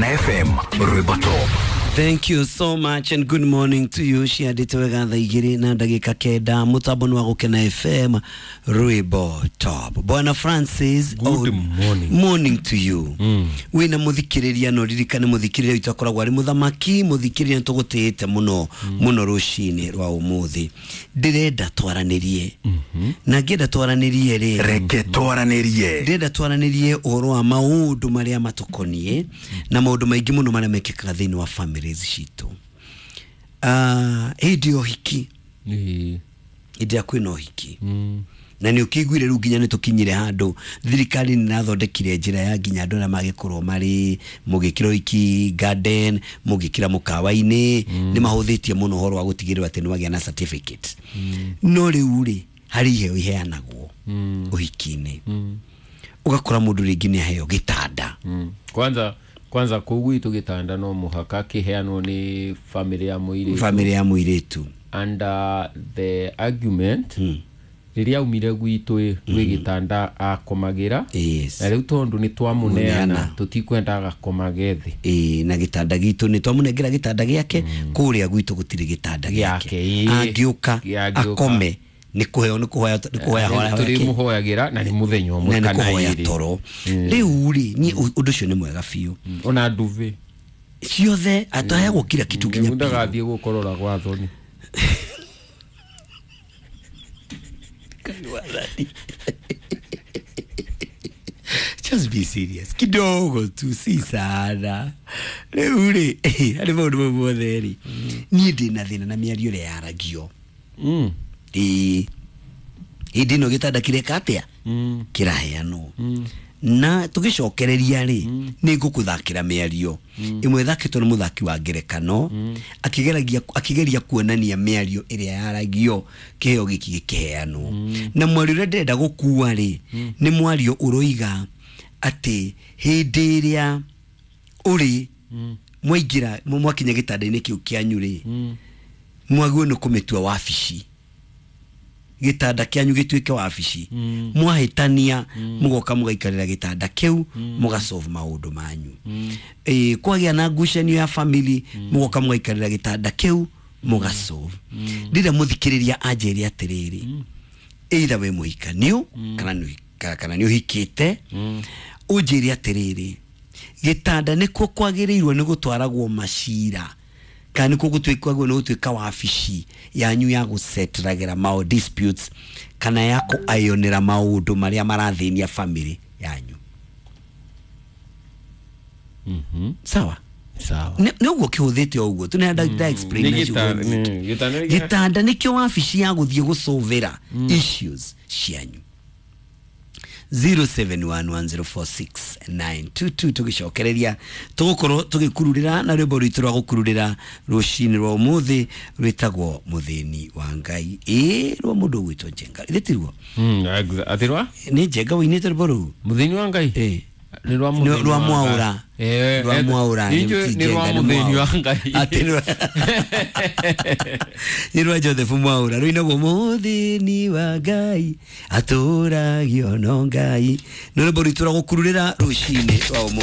FM Rwimbo Top. Thank you so much and good morning to you. Ciandĩte wega thaa igĩrĩ na ndagĩka kenda mũtambo nĩ wa Gũkena FM Rwimbo Top. Bwana Francis, Good morning. Morning to you. Wĩna mũthikĩrĩria no ririkane mũthikĩrĩria witũ akoragwo arĩ mũthamaki mũthikĩrĩria nĩ tũgũtĩĩte mũno mũno rũcinĩ rwa ũmũthĩ. Ndĩrenda twaranĩrie na ngĩenda twaranĩrie rĩ Reke twaranĩrie. Ndĩrenda twaranĩrie ũhoro wa maũndũ marĩa matũkoniĩ na maũndũ maingĩ mũno marĩa mekĩkaga thĩinĩ wa families citũ. Hĩndĩ ya ũhiki, Ĩĩ. hĩndĩ ĩrĩa kwĩna ũhiki na nĩ ũkĩiguire rĩu nginya nĩ tũkinyire handũ thirikari nĩ ĩrathondekire njĩra ya nginya andũ arĩa magĩkorwo marĩ mũgĩkĩra ũhiki garden mũgĩkĩra mũkawa-inĩ nĩ mahũthĩtie mũno ũhoro wa gũtigĩrĩra atĩ nĩ wagĩa na certificate. No rĩu rĩ harĩ iheo iheanagwo ũhiki-inĩ, ũgakora mũndũ rĩngĩ nĩ aheo gĩtanda. Kwanza kũu gwitũ gĩtanda no mũhaka kĩheanwo nĩ famĩlĩ ya mũirĩtu. Famĩlĩ ya mũirĩtu. And the argument rĩrĩa aumire gwitũ ĩ gwĩ gĩtanda akomagĩra. Na rĩu tondũ nĩ twamũneana Mũneana. tũtikwenda agakomage thĩ. Ĩĩ, na gĩtanda gitũ nĩ twamũnengera gĩtanda gĩake kũrĩa gwitũ gũtirĩ gĩtanda gĩake. Gĩake, ĩĩ. Angĩũka Angĩũka. akome nĩ kũheo nĩ kũhoya nĩ kũhoya hoya yake. Tũrĩmũhoyagĩra na nĩ mũthenya ũmwe Na nĩ kana kũhoya ĩĩrĩ. toro. Rĩu rĩ niĩ ũndũ ũcio nĩ mwega biũ. Ona nduve ciothe ataheagwo kila kitu nginya nĩguo pillow. ndagathiĩ gũkorora gwa thoni. Just be serious kidogo tu, si sana. Rĩu rĩ harĩ maũndũ mau mothe rĩ niĩ ndĩ na thĩna na mĩario ĩrĩa yaragio. Ĩĩ, hĩndĩ ĩno gĩtanda kĩreka atĩa kĩraheanwo na tũgĩcokereria rĩ nĩ ngũkũthakĩra mĩario ĩmwe ĩthakĩtwo nĩ mũthaki wa ngerekano akĩgeragia akĩgeria kuonania mĩario ĩrĩa yaragio kĩheo gĩkĩ gĩkĩheanwo. Na mwario ũrĩa ndĩrenda gũkua rĩ nĩ mwario ũroiga atĩ hĩndĩ ĩrĩa ũrĩ mwaingĩra mwakinya gĩtanda-inĩ kĩu kĩanyu rĩ mwagĩrĩirwo nĩ kũmĩtua wabici, gĩtanda kĩanyu gĩtuĩke wabici. Mwahĩtania mũgoka mũgaikarĩra gĩtanda kĩu mũgasolve maũndũ manyu. Ĩĩ, kwagĩa na ngucanio ya family mũgoka mũgaikarĩra gĩtanda kĩu mũgasolve. Ndĩrenda mũthikĩrĩria anjĩre atĩrĩrĩ, either wĩ mũhikanio kana nĩ kana nĩ ũhikĩte, ũnjĩre atĩrĩrĩ, gĩtanda nĩkuo kwagĩrĩirwo nĩ gũtwaragwo macira kana nĩkuo gũtuĩkagwo nĩ gũtuĩka wabici yanyu ya gũsetragĩra mao disputes kana ya kũayonĩra maũndũ marĩa marathĩnia family yanyu. Sawa? Sawa. Nĩ ũguo kĩhũthĩte o ũguo tu nĩ nda explain Nĩ na ciugo nyingĩ. gĩtanda nĩ Gĩtanda nĩkĩo wabici ya gũthiĩ gũcũvĩra issues cianyu. 0711046922 tũgĩcokereria tũgũkorwo tũgĩkururĩra na rwĩmbo rwitũ rwa gũkururĩra rũcinĩ rwa ũmũthĩ rwĩtagwo mũthĩni wa Ngai, ĩĩ, rwa mũndũ ũgwĩtwo Njenga, ithĩ tiguo? Atĩ rwa Nĩ Njenga ũinĩte rwĩmbo rũu. Mũthĩni wa Ngai. Ĩĩ. Nĩ rwa Nĩ mũthĩni rwa wa Ngai. Mwaũra. Rwa Mwaũra, nĩ ti nĩ rwa Njenga, nĩ mũthĩni wa Mwaũra. Ngai. Atĩ nĩ rwa Joseph Mwaũra rũinagwo mũthĩni wa Ngai atũragio no Ngai. Nĩ rwĩmbo rwitũ rwa gũkururĩra rũcinĩ rwa ũmũthĩ.